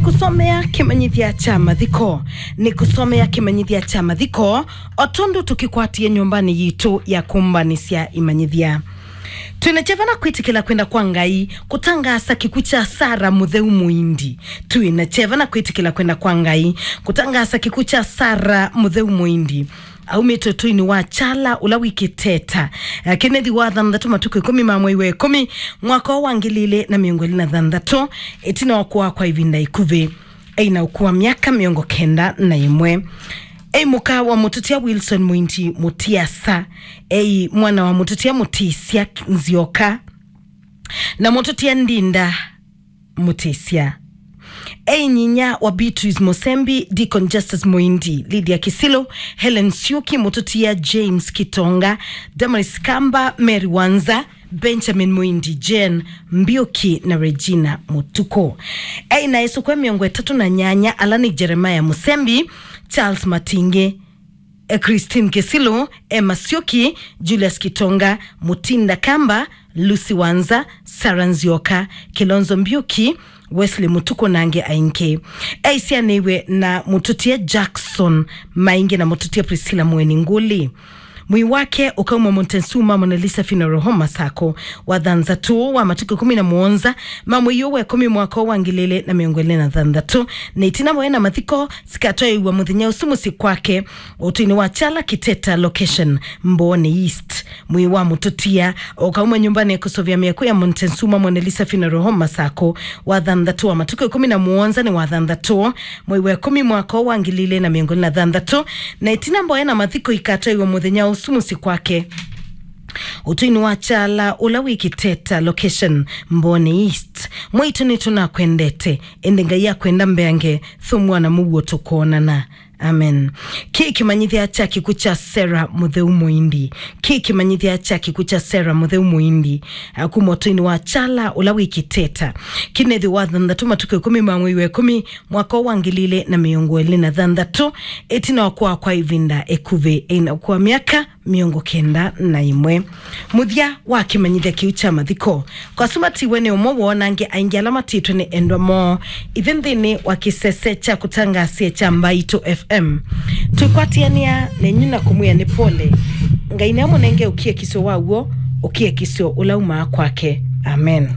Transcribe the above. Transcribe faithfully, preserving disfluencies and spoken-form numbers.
Kũsomea kĩmanyĩthya kya mathiko. Nĩ kũsomea kĩmanyĩthya kya mathiko, o tondũ tũkĩkwatie nyũmbanĩ yitũ ya kũmbanĩsya imanyĩthya. Twĩ na kyeva na kwĩtĩkĩla kwenda kwa Ngai kũtangaasa kĩkw'ũ kya Sara Mũtheu Mũindi. Twĩ na kyeva na kwĩtĩkĩla kwenda kwa Ngai kũtangaasa kĩkw'ũ kya Sara Mũtheu Mũindi. Aumĩte ũtũinĩ wa Kyala ũla wĩ Kĩteta. Eh, Kenneth wa thanthatũ, matukũ ĩkũmi ma mwei wa ĩkũmi, mwaka wa ngili ilĩ na mĩongo ĩlĩ na thanthatũ, ĩtina wa kũaa kwa ĩvinda ĩkuvĩ. Eĩ na ũkũũ wa myaka mĩongo kenda na ĩmwe. Eĩ mũka wa mũtũtia Wilson Mũindi Mũtiasa. Eĩ mwana wa mũtũtia Mũtĩsya Nzioka na mũtũtia Ndinda Mũtĩsya. Eĩ nyinya wa Beatrice Mũsembi, Deacon Justus Mũindi, Lydia Kisilu, Helen Siuki, mũtũtia James Kitonga, Damaris Kamba, Mary Wanza, Benjamin Mũindi, Jane Mbiuki na Regina Mũtuku. Eĩ na ĩsũkw'e mĩongo ĩtatũ na nyanya, ala nĩ Jeremiah Mũsembi, Charles Matingi, eh, Christine Kisilu, Emma Siuki, Julius Kitonga, Mutinda Kamba, Lucy Wanza, Sarah Nzioka, Kilonzo Mbiuki, Wesley Mũtuku na angĩ aingĩ. Eĩ syanĩiwe na mũtũtia Jackson Maingi na mũtũtia Priscilla Mweni Nguli. Mwĩĩ wake ũkauma Montezuma Mona Lisa Funeral Home Masako wa thanthatũ wa matukũ ĩkũmi na mũonza ma mwei ũũ wa ĩkũmi mwaka wa ngili ilĩ na mĩongo ĩlĩ na thanthatũ, na ĩtina voya na mathiko sikatwaĩwa mũthenya ũsu mũsyĩ kwake ũtũinĩ wa Kyala Kĩteta location, Mbooni East. Mwĩĩ wa mũtũtia ũkauma nyũmbanĩ ya kũsũvĩa mĩako ya Montezuma Mona Lisa Funeral Home Masako wa thanthatũ wa matukũ ĩkũmi na mũonza nĩ wa thanthatũ mwei wa ĩkũmi mwaka wa ngili ilĩ na mĩongo ĩlĩ na thanthatũ, na ĩtina mboya na mathiko ikatwaĩwa mũthenya ũsu mũsyĩ kwake ũtũinĩ wa Kyala ũla wĩ Kĩteta location, Mbooni East. Mwaitũ nĩtũnakwendete, ĩndĩ Ngai akwenda mbeange, thũmũa na mũuo tũkoonana. Amen. Kĩ kĩmanyĩthya kya kĩkw'ũ kya Sara Mũtheu Mũindi. Kĩ kĩmanyĩthya kya kĩkw'ũ kya Sara Mũtheu Mũindi, a, kuma ũtũinĩ wa Kyala ũla wĩ Kĩteta. Kĩnethĩ wa thanthatũ matukũ ĩkũmi ma mwei wa ĩkũmi mwaka wa ngili ilĩ na mĩongo ĩlĩ na thanthatũ, ĩtina wa kũaa kwa ĩvinda ĩkuvĩ, eĩ na ũkũũ wa myaka mĩongo kenda na ĩmwe. Mũthya wa kĩmanyĩthya kĩu kya mathiko. Kwa asu matiwe nĩ ũmwe woo, na angĩ aingĩ ala matiĩtwe nĩ endwa moo. Ithyĩ nthĩnĩ wa kĩsese kya kũtangaasya kya Mbaitũ F M, twĩkwatĩanĩa nenyu na kũmwĩa nĩ pole. Ngai nĩamũnenge ũkiakisyo wa w'o, ũkiakisyo ũla umaa kwake. Amen.